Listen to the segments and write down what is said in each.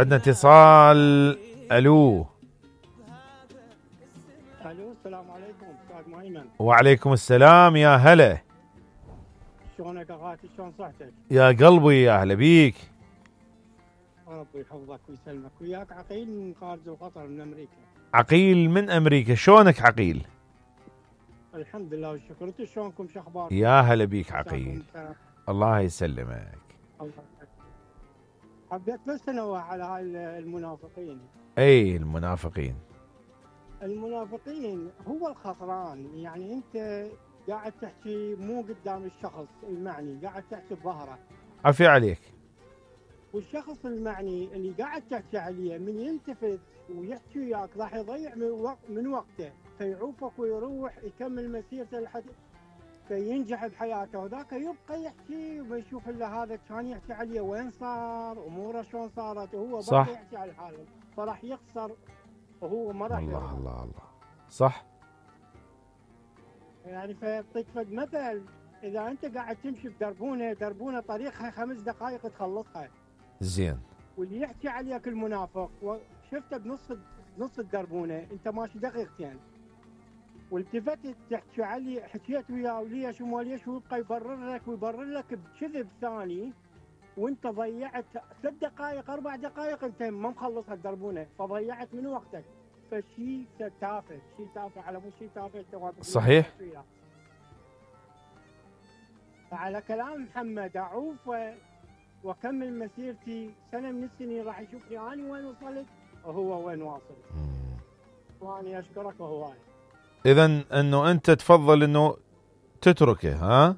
عندنا اتصال. الو. الو، السلام عليكم استاذ مهيمن. وعليكم السلام، يا هلا. شلونك اخواتي؟ شلون صحتك؟ يا قلبي يا اهلا بيك. ربي يحفظك ويسلمك. وياك عقيل من خارج القطر من امريكا. عقيل من امريكا، شلونك عقيل؟ الحمد لله والشكر. انتم شلونكم؟ شو اخباركم؟ يا هلا بيك عقيل. الله يسلمك. الله يسلمك. حبيت بس انوه على هاي المنافقين. اي المنافقين. المنافقين هو الخسران. يعني انت قاعد تحكي مو قدام الشخص المعني، قاعد تحكي بظهره. عفي عليك. والشخص المعني اللي قاعد تحكي عليه من يلتفت ويحكي وياك راح يضيع من وقته، فيعوفك ويروح يكمل مسيرته لحد فينجح بحياته، وذاك يبقى يحكي وما يشوف الا هذا كان يحكي عليه وين صار، اموره شلون صارت، وهو صح. بقى يحكي على حاله، فراح يخسر وهو ما راح الله يربح. الله الله. صح. يعني فيعطيك فد مثل، اذا انت قاعد تمشي بدربونه طريقها 5 دقائق تخلصها. زين. واللي يحكي عليك المنافق وشفته بنص الدربونه انت ماشي دقيقتين، والتفتت تحكي علي حكيت وياه وليش وما ليش، ويبقى يبرر لك بكذب ثاني، وانت ضيعت 3 دقائق 4 دقائق انت ما مخلص الدربونه، فضيعت من وقتك. فشي تافه، شيء تافه على مو شيء تافه. صحيح. فعلى كلام محمد اعوف واكمل مسيرتي سنه من السنين، راح يشوفني اني وين وصلت وهو وين واصل. واني اشكرك وهواي. اذا انه انت تفضل انه تتركه، ها؟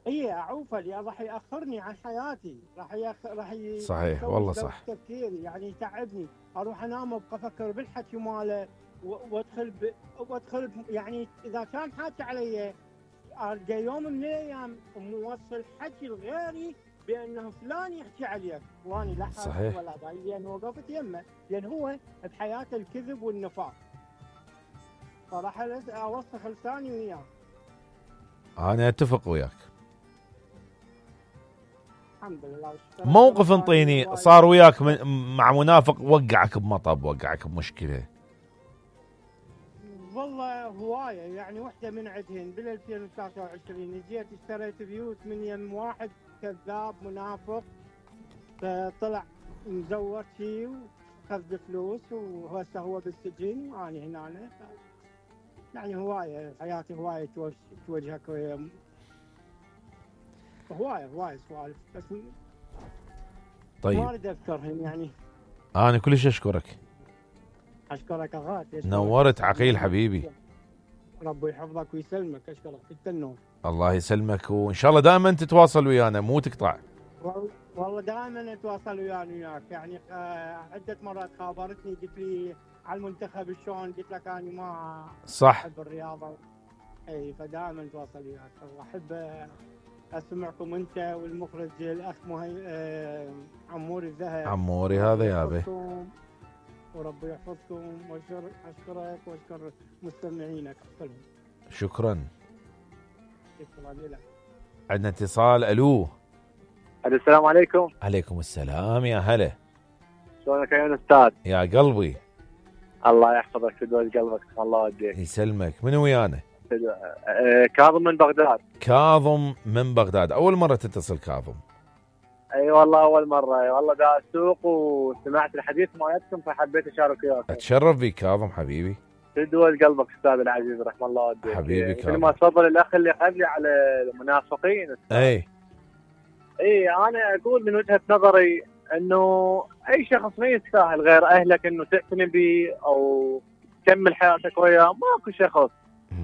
اي اعوفه لان راح ياخرني عن حياتي، صحيح والله صح. تفكيري يعني يتعبني، اروح انام ابقى افكر بالحكي ماله وادخل يعني اذا كان حاكي علي ارجع يوم من الايام موصل حكي لغيري بانه فلان يحكي عليك، واني لا حاسس ولا ضايق لان وقفت يمه، لان هو بحياته الكذب والنفاق، فراح اوسخ لساني وياه. انا اتفق وياك. الحمد لله. موقف انطيني صار وياك مع منافق وقعك بمطب، وقعك بمشكله. والله هوايه، يعني وحده من عندهن بال 2023 جيت اشتريت بيوت من يم واحد كذاب منافق، فطلع مزور شي وخذ فلوس وهسه هو بالسجن واني هنا. يعني هوايه حياتي، هوايه توجهك هوايه سوالف، بس طيب ما اريد اذكرهم يعني. انا كلش اشكرك. اشكرك اغاد. نورت عقيل حبيبي. ربي يحفظك ويسلمك. اشكرك انت النور. الله يسلمك، وان شاء الله دائما تتواصل ويانا مو تقطع. والله دائما اتواصل وياك يعني. عده مرات خابرتني قلت لي على المنتخب شلون، قلت لك انا ما صح احب الرياضه. اي فدائما اتواصل وياك. واحب اسمعكم انت والمخرج الاخ عموري الذهب. عموري هذا يابا. وربي يحفظكم واشكرك واشكر مستمعينك كلهم. شكرا. شكرا لك. عندنا اتصال. الو. السلام عليكم. عليكم السلام، يا هلا. شلونك يا استاذ؟ يا قلبي. الله يحفظك ويدوز قلبك. الله يوديك. يسلمك. من ويانا؟ كاظم من بغداد. كاظم من بغداد. اول مره تتصل كاظم؟ اي والله اول مره. والله دا اسوق وسمعت الحديث مالتكم فحبيت اشارك وياك. اتشرف بك كاظم حبيبي. تدوز قلبك استاذ العزيز رحم الله والديك. حبيبي كاظم. مثل ما تفضل الاخ اللي قبلي على المنافقين. اي انا اقول من وجهه نظري انه اي شخص ما يستاهل غير اهلك انه تعتني به او تكمل حياتك وياه. ماكو شخص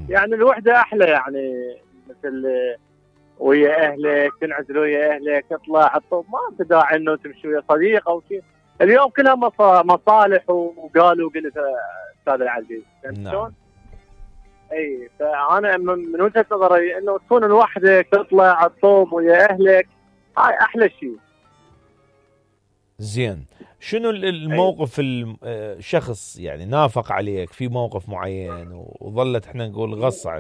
يعني الوحده احلى، يعني مثل ويا اهلك تنعزل ويا اهلك تطلع الطب، ما في داعي انه تمشي ويا صديق او شيء. اليوم كلها مصالح وقالوا قلت استاذ العزيز. نعم. اي فانا من وجهه نظري انه تكون لوحدك تطلع الطب ويا اهلك، هاي احلى شيء. زين. شنو الموقف الشخص يعني نافق عليك في موقف معين وظلت احنا نقول غص